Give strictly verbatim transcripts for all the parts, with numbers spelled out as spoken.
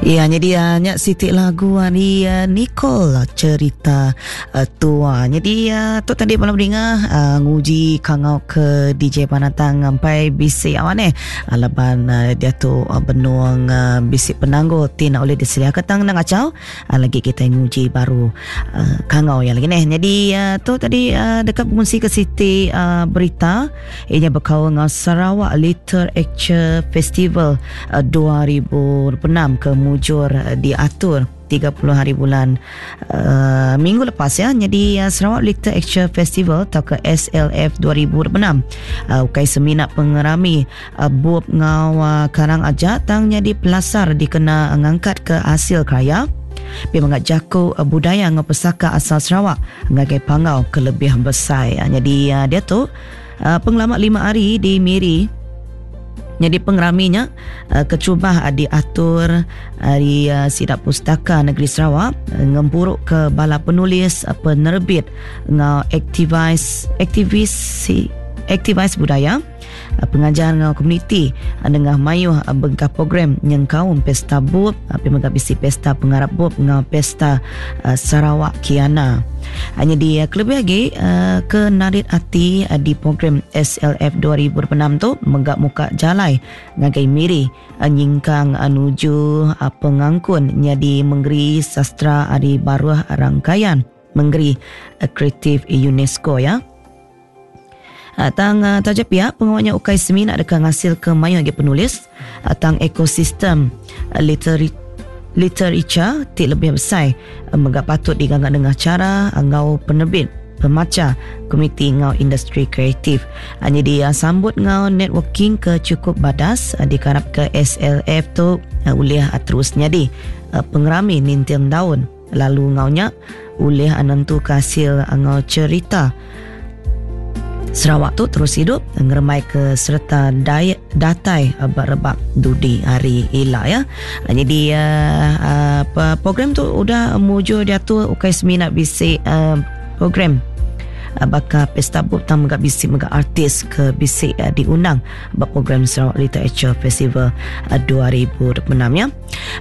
Ya, jadi uh, nyak sitik lagu ari uh, Nicole cerita uh, tua. Jadi uh, tu tadi malam dengar uh, nguji kangau ke D J Panatang sampai bisik awan eh. Uh, laban uh, dia tu uh, benuang uh, bisik penangguh tina oleh diselia ketang nang acau. Uh, lagi kita nguji baru uh, kangau yang lagi neh. Jadi uh, tu tadi uh, dekat pengungsi ke siti uh, berita ianya berkaul dengan Sarawak Literature Festival uh, dua ribu enam ke mujur diatur tiga puluh hari bulan uh, minggu lepas ya. Jadi uh, Sarawak Literature Festival atau ke S L F dua ribu enam uh, ukai seminat pengerami uh, bup ngau uh, karang aja tang jadi pelasar dikena ngangkat ke hasil karya pi mengak jaku uh, budaya ngau pesaka asal Sarawak ngagai pangau ke lebih besar. Uh, jadi uh, dia tu uh, pengelamat lima hari di Miri. Jadi pengeraminya uh, kecubah uh, diatur dari uh, Sidap Pustaka Negeri Sarawak uh, ngempuruk ke bala penulis uh, penerbit ngau aktivis aktivis aktivis budaya uh, pengajar ngau komuniti uh, dengan mayuh uh, bengkah program yang kaum pesta bub uh, pemegah bisi pesta pengarap bub ngau pesta uh, Sarawak Kiana. Hanya di uh, kelebih lagi uh, ke narit hati uh, di program S L F dua ribu enam tu menggak muka jalai ngagai miri uh, nyingkang uh, nuju uh, pengangkun nyadi menggeri sastra ari baruh rangkaian menggeri uh, kreatif UNESCO ya. Uh, tang uh, tajap pihak pengawalnya ukai seminak dekat ngasil ke mayang lagi penulis uh, tang ekosistem uh, literi literature ti lebih besar uh, megak patut diganggap dengan cara ngau penerbit pemaca komiti ngau industri kreatif. Uh, jadi uh, sambut ngau networking ke cukup badas uh, dikarap ke S L F tu uh, ulih uh, terusnya di uh, pengerami nintiang daun lalu ngaunya ulih uh, nentu hasil uh, ngau cerita Sarawak tu terus hidup ngeremai ke serta dai, datai rebak-rebak dudi hari ila ya. Jadi uh, uh, program tu udah mujur dia tu ukai seminat bisik uh, program uh, bakal pesta bub tam megak bisik megak artis ke bisik uh, diundang bak program Sarawak Literature Festival uh, dua ribu enam ya.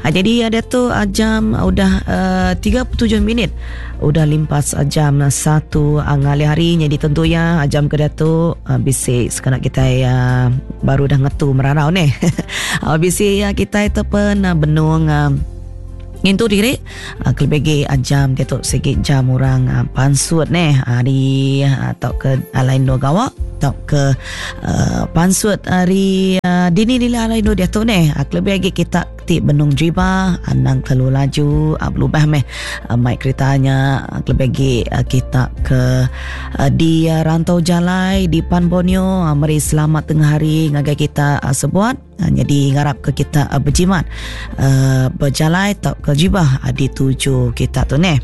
Uh, jadi ada uh, tu uh, jam uh, udah uh, tiga puluh tujuh minit udah limpas uh, jam satu uh, ngalih hari. Jadi tentunya uh, jam ke tu uh, bisik sekarang kita uh, baru dah ngetu merarau ni. uh, bisik uh, kita itu pun uh, benung uh, ngintu diri uh, kelebih jam dia tu sikit jam orang uh, pansut neh hari atau uh, ke uh, lain dua gawak atau ke uh, pansut hari uh, dini nila lain dua dia tu neh uh, kelebih lagi kita ti benung driba anang terlalu laju uh, berubah meh uh, mic keretanya uh, kelebih lagi uh, kita ke uh, di uh, rantau jalai di Pan Borneo uh, meri selamat tengah hari ngagai kita uh, sebuat. Uh, jadi ngarap ke kita uh, berjimat uh, berjalai atau ke jibah uh, di tuju kita tu neh.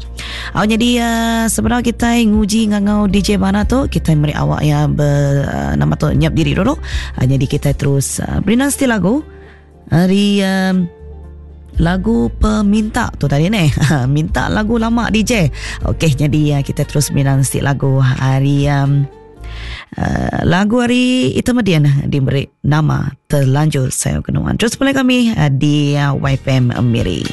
Uh, jadi uh, sebenarnya kita nguji ngangau D J mana tu kita meri awak yang ber, uh, nama tu nyiap diri dulu. Uh, jadi kita terus uh, beri nanti lagu hari um, lagu peminta tu tadi ni. Minta lagu lama D J. Okey, jadi uh, kita terus beri nanti lagu hari um, Uh, lagu hari itu median diberi nama Terlanjur Sayang Kenuan. Terus mulai kami uh, di uh, Y F M Miri.